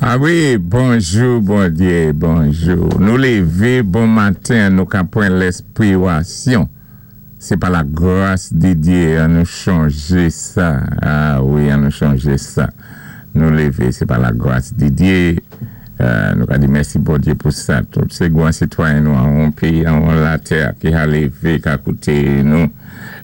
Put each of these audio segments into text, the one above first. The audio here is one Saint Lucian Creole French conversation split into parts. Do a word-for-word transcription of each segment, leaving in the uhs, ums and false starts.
Ah wi, bonjou, Bondyé, bonjou. Nou lévé bon maten, nou ka pwan lèspirasyon. Sé pa la gras di Dyé, an nou chanjé sa. Ah wi, an nou chanjé sa. Nou lévé, sé pa la gras di Dyé. Euh, nou ka di mèsi Bondyé pou sa. Tout sé gwan sitwayen nou an yon péyi, an yon latè ki ka lévé, ka kouté nou.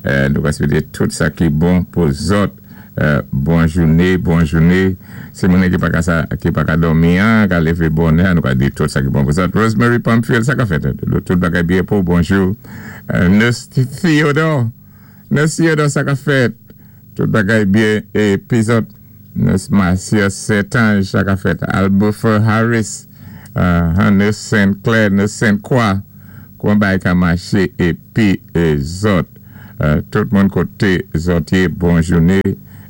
Euh, nou ka swété tout sa ki bon pou zòt. Euh, bon jouné, bon jouné. Sé moun ki pa ka sa, ki pa ka dòmi an, ka lévé bonè, nou ka di tout sa ki bon pou zòt. Rosemary Pamphile, sa ka fèt. Tout bagay byen pou bonjou. Euh, Nurse Theodore, Nurse Theodore, sa ka fèt. Tout bagay byen. Épi zòt, Nurse Marcia Setange, sa ka fèt. Albufer Harris, euh, Nurse Saint Clair, Nurse Saint Croix, kouman bagay ka maché, épi zòt. Euh, tout moun koté zòt yé, bon jouné.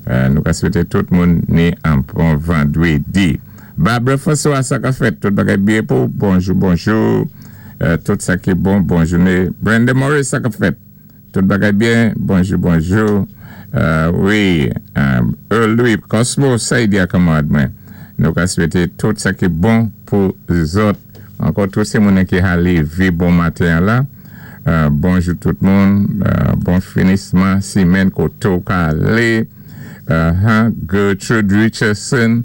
Euh, nou ka swété tout moun ni an bon vandwédi. Barbara François, sa ka fèt, tout bagay byen pou, bonjou, bonjou. Euh, tout sa ki bon, bon jouné. Brenda Morris, sa ka fèt, tout bagay byen, bonjou, bonjou. Euh, wi, euh, Louis, Cosmo, sa y di a kanmarad mwen. Nou ka swété tout sa ki bon pou zòt. Ankò tout sé moun ki ka lévé bon maten la. Euh, bonjou tout moun. Euh, bon finisman simenn koté ou ka alé. Uh, Gertrude Richardson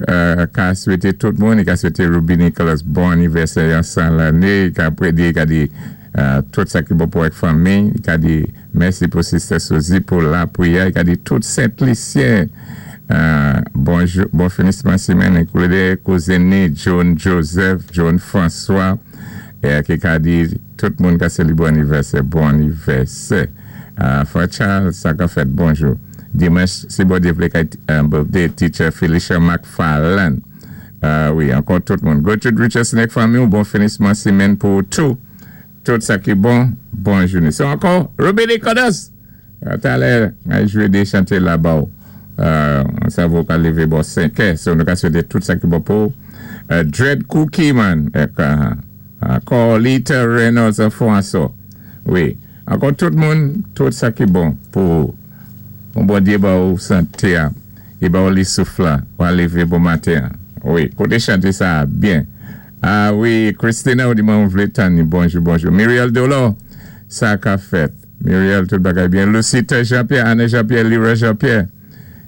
uh, ka swété tout moun, i ka swété Ruby Nicholas bon anivèsè yon san lanné, i ka prédi, i ka di uh, tout sa ki bon pou ak fanmi, i ka di mèsi pou Sister Suzy pou lapwiyè, i ka di tout Saint-Lucien uh, bonjou, bon finisman simenn, enklwé kouzen John Joseph, John François, é ki ka di tout moun ka sélébré anivèsè, bon anivèsè. Uh, Frè Charles, sa ka fèt, bonjou. Dimanch, si Bondyé vlé kay birthday teacher Felicia McFarland. Uh, wi, ankò tout moun. Gertrude Richardson ek fanmi ou bon finisman simenn pou tout. Tout sa ki bon, bon jouné. So ankò, Ruby Nicholas. Talè, ay jwé dé chanté la ba ou. Uh, sa vo ka lévé bò senk è. So nou ka swété tout sa ki bon pou. Uh, Dread Cookie man. Ek, uh, ankò Lita Reynolds François. Wi. Ankò tout moun, tout sa ki bon pou bon Bondyé ba ou santé a, i ba ou li souf la, ou a lévé bon maten. Wi, kouté chanté sa byen. Ah wi, Christina ou di mwen vlé tann ni, bonjou, bonjou. Muriel Dolo, sa ka fèt. Muriel, tout bagay byen. Lucita Jean-Pierre, Anne Jean-Pierre, Lira Jean-Pierre.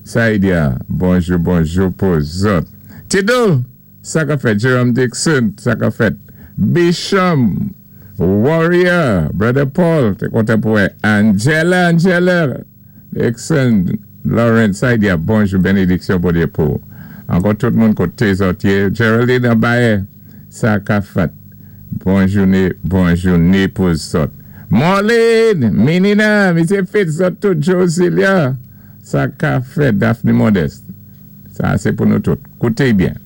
Sa y di a, bonjou, bonjou pou zòt. Tidou, sa ka fèt. Jerome Dixon, sa ka fèt. Bishop, Warrior, Brother Paul, té kontan pou wè. Angela, Angela, Dixon, Lawrence, sa y di a, bonjou, bénédiksyon Bondyé pou. Ankò tout moun koté zòt yé. Geraldine Abaye, sa ka fèt. Bon jouné, bon jouné pou zòt. Marlene, Minina, Misye Fitz, zòt tout, Josilia, sa ka fèt, Daphne Modeste. Sa, sé pou nou tout. Kouté byen.